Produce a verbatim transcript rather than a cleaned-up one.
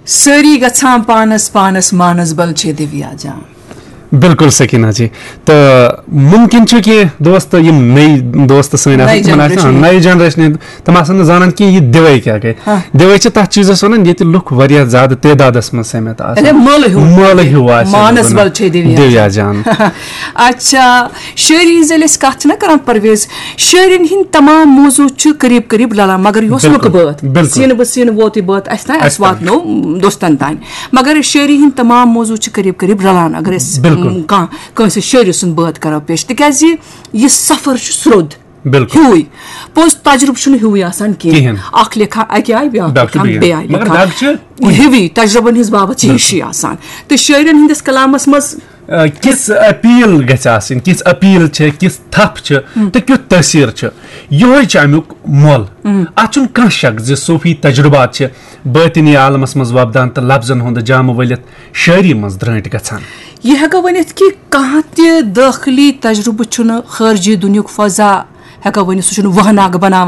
سٲری گژھان پانس پانس مانسبل چھے دیویا جان۔ بالکل سکینہ جی۔ تہٕ ممکن چھُ کینٛہہ دوست، یِم نٔے دوست سٲنۍ آسن، نٔے تِمن آسہِ، جنریشن۔ نٔے جنریشن، تِم آسن نہٕ زانان کینٛہہ یہِ دِوے کیٛاہ گٔے۔ ہاں۔ دِوے چھِ تتھ چیٖزس ونان ییٚتہِ لُکھ واریاہ زیادٕ تعدادس منٛز سٔمِتھ آسان۔ اَدے مٲلہٕ ہیوٗ۔ مٲلہٕ ہیوٗ آسہِ مانسبل چھے دیویا دیویا جان۔ اچھا، شٲعری ہٕنٛز ییٚلہِ أسۍ کتھ چھِنہ کران پرویز، شٲعرٮ۪ن ہٕنٛدۍ تمام موضوع چھِ قریب قریب رلان، مگر یہِ اوس بالکل، لُکہٕ بٲتھ۔ بالکل۔ سینہٕ بہٕ سینہٕ ووتُے بٲتھ اسہِ تام، اسہِ اسہِ تام۔ واتنو دوستن تام۔ مگر شٲعری ہٕنٛدۍ تمام موضوع چھِ قریب قریب رلان، اگر أسۍ بالکل۔ م، کانٛہہ کٲنٛسہِ شٲعرِ سُنٛد بٲتھ کرو پیش، تِکیازِ یہِ سفر چھُ سرٛوٚد۔ بالکل۔ ہیوٗے۔ پوٚز تجرُبہٕ چھُنہٕ ہیوٗے آسان کینٛہہ۔ کِہیٖنۍ۔ اکھ لیکھان اکہِ آیہِ، بیٛاکھ بیٛاکھ چھُ لیکھان بیٚیہِ بیٚیہِ آیہِ۔ آیہِ مگر لیکھان۔ دگ چھِ کُنہِ۔ ہیوٗے، تجرُبن ہٕنٛز بابت چھِ ہِشی آسان۔ تہٕ شٲعرٮ۪ن ہٕنٛدِس کلامس منٛز آ، کِژھ اپیل گژھِ آسٕنۍ، کِژھ اپیل چھِ، کِژھ تھپھ چھِ تہٕ کیُتھ تٲثیر چھُ، یِہوٚے چھُ امیُک مۄل۔ اتھ چھُنہٕ کانٛہہ شک زِ صوفی تجرُبات چھِ باطنی عالمس منٛز وۄپدان تہٕ لفظن ہُنٛد جامہٕ ؤلِتھ شٲعری منٛز درٲنٹۍ گژھان۔ یہِ ہٮ۪کو ؤنِتھ کہِ کانٛہہ تہِ دٲخلی تجرُبہٕ چھُنہٕ خارجی دُنیُک فضا، ہٮ۪کو ؤنِتھ، سُہ چھُنہٕ وہناگ بناوان۔